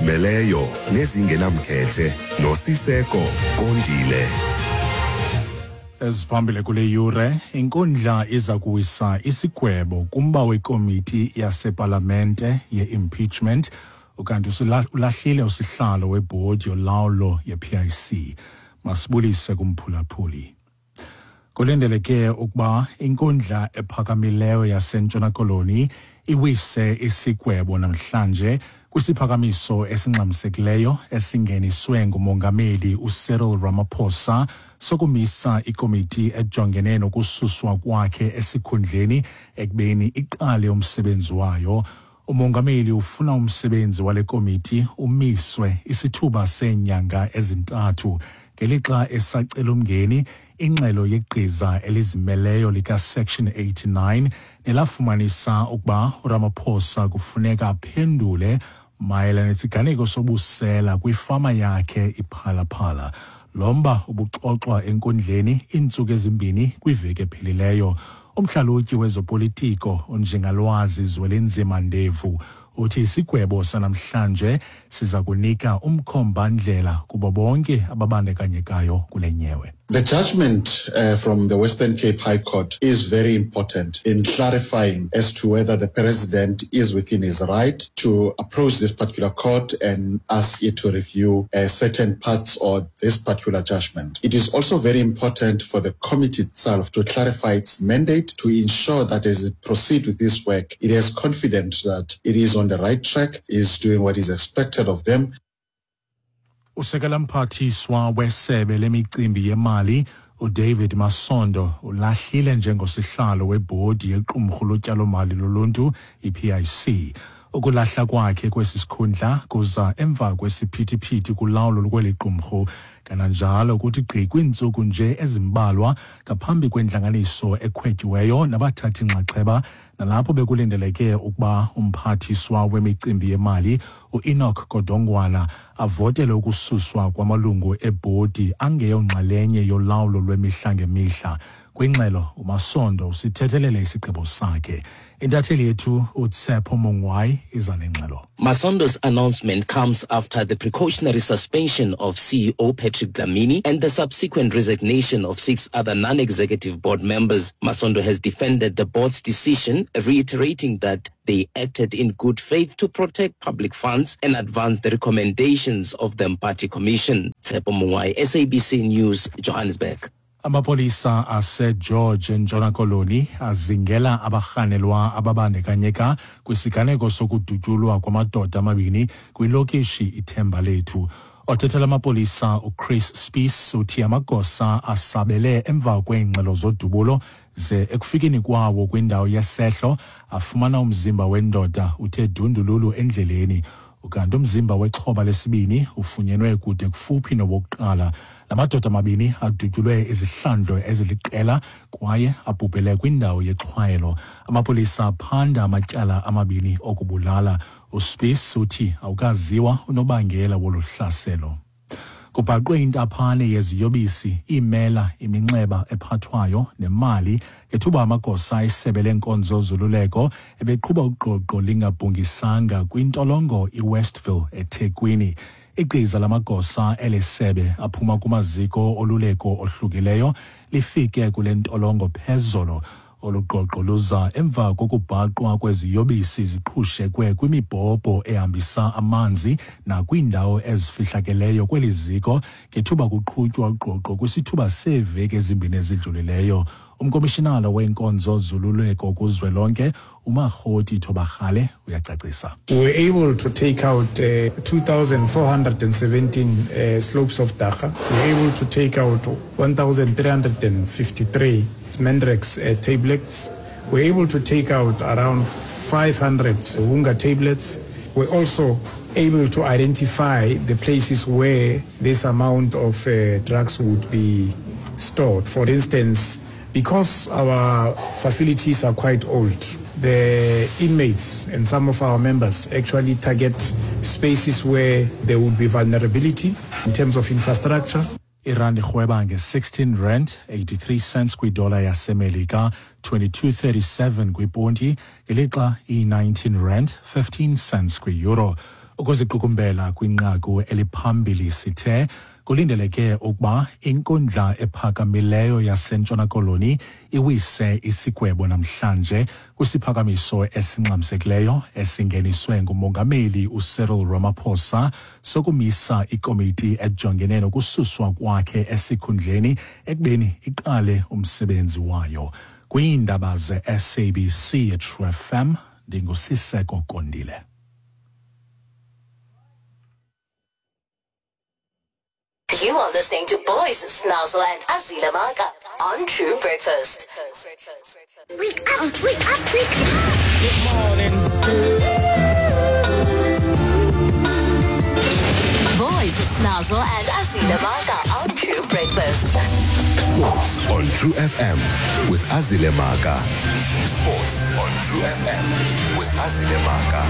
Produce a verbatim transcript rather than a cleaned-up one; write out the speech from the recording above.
Ezizimeleyo nezingenamkhethe noSiseko Kondile. Eziphambili kule yure, inkundla iza kuwisa isigwebo kumba wekomiti yasepalamente ye-impeachment, ukanti ulahlile usihlalo webhodi yolawulo ye-P I C. Masibulise kumphulaphuli. Kulindeleke ukuba inkundla ephakamileyo yaseNtshona Koloni iwise isigwebo namhlanje kwisiphakamiso esingxamisekileyo esingeniswe ngumongameli uCyril Ramaphosa sokumisa ikomiti ejongene nokususwa kwakhe esikhundleni ekubeni iqale umsebenzi wayo. Umongameli ufuna umsebenzi wale komiti umiswe isithuba seenyanga ezintathu ngelixa esacela umngeni ingxelo yegqiza elizimeleyo lika-Section eighty-nine nelafumanisa ukuba uRamaphosa kufuneka aphendule mayelana nesiganeko sobusela kwifama yakhe iPhalaphala. Lo mba ubuxoxwa enkundleni iintsuku ezimbini kwiveki ephelileyo. Umhlalutyi wezopolitiko uNjingalwazi Zwelinzima Ndevu uthi isigwebo sanamhlanje siza kunika umkhombandlela kubo bonke ababandakanyekayo kule nyewe. The judgment uh, from the Western Cape High Court is very important in clarifying as to whether the president is within his right to approach this particular court and ask it to review uh, certain parts of this particular judgment. It is also very important for the committee itself to clarify its mandate to ensure that as it proceeds with this work, it is confident that it is on the right track, is doing what is expected of them. Usekela mphathiswa wesebe lemicimbi yemali uDavid Masondo ulahlile njengosihlalo webhodi yequmrhu lotyalomali loluntu i-P I C. Ukulahla kwakhe kwesi sikhundla kuza emva kwesiphithiphithi kulawulo lweli qumrhu, kananjalo kuthi gqi kwiintsuku nje ezimbalwa ngaphambi kwentlanganiso ekhwetyiweyo nabathathi nxaxheba, nalapho bekulindeleke ukuba umphathiswa wemicimbi yemali uEnoch Godongwana avotele ukususwa kwamalungu ebhodi angeyonxalenye yolawulo lwemihla ngemihla. Kwingxelo uMasondo usithethelele isigqibo sakhe. Intatheli yethu uTshepo Mongwai iza nengxelo. Masondo's announcement comes after the precautionary suspension of C E O Patrick Dlamini and the subsequent resignation of six other non-executive board members. Masondo has defended the board's decision, reiterating that they acted in good faith to protect public funds and advance the recommendations of the Mpati Commission. Tshepo Mongwai, S A B C News, Johannesburg. Amapolisa aseGeorge eNtshona Koloni azingela abarhanelwa ababandakanyeka kwisiganeko sokudutyulwa kwamadoda amabini kwilokishi iThemba Lethu. Othethela amapolisa uChris Spies uthi amagosa asabele emva kweengxelo zodubulo ze ekufikeni kwawo kwindawo yesehlo afumana umzimba wendoda uthe dundululu endleleni. Ukanti umzimba wexhoba lesibini ufunyenwe kude kufuphi nowokuqala. La madoda amabini adutyulwe izihlandlo eziliqela kwaye abhubhele kwindawo yexhwayelo. Amapolisa aphanda amatyala amabini okubulala. USpies uthi awukaziwa unobangela wolu hlaselo. Kubhaqwe intaphane yeziyobisi, iimela, iminxeba ephathwayo nemali ngethuba amagosa esebe lenkonzo zoluleko ebeqhuba ugqogqo lingabhungisanga kwintolongo iWestville eThekwini. Igqiza lamagosa elisebe aphuma kumaziko oluleko ohlukileyo lifike kule ntolongo phezolo. Olu gqogqo luza emva kokubhaqwa kweziyobisi ziqhushekwe kwimibhobho ehambisa amanzi nakwiindawo ezifihlakeleyo kweli ziko ngethuba kuqhutywa ugqogqo kwisithuba seeveki ezimbini ezidlulileyo. Umkomishinala weenkonzo zoluleko kuzwelonke uMakgoti Thobakgale uyacacisa. We were able to take out uh, two thousand four hundred seventeen uh, slopes of dagga. We were able to take out one thousand three hundred fifty-three Mandrax uh, tablets. We were able to take out around five hundred Wunga tablets. We were also able to identify the places where this amount of uh, drugs would be stored. For instance, because our facilities are quite old, the inmates and some of our members actually target spaces where there would be vulnerability in terms of infrastructure. Irandi irhweba nge-sixteen rand eighty-three cents kwidola yaseMelika, twenty-two thirty-seven kwiponti, ngelixa iyi-nineteen rand fifteen cents kwi-euro. Ukuziqukumbela kwinqaku eliphambili sithe kulindeleke ukuba inkundla ephakamileyo yaseNtshona Koloni iwise isigwebo namhlanje kwisiphakamiso esingxamisekileyo esingeniswe ngumongameli uCyril Ramaphosa sokumisa ikomiti ejongene nokususwa kwakhe esikhundleni ekubeni iqale umsebenzi wayo. Kwiindaba ze-S A B C True F M, ndinguSiseko Kondile. You are listening to Boys Snazzle and Azile Maka on True Breakfast. Wake up, wake up, wake up. Good morning. Boys Snazzle and Azile Maka on True Breakfast. Sports on True F M with Azile Maka. Sports on True F M with Azile Maka.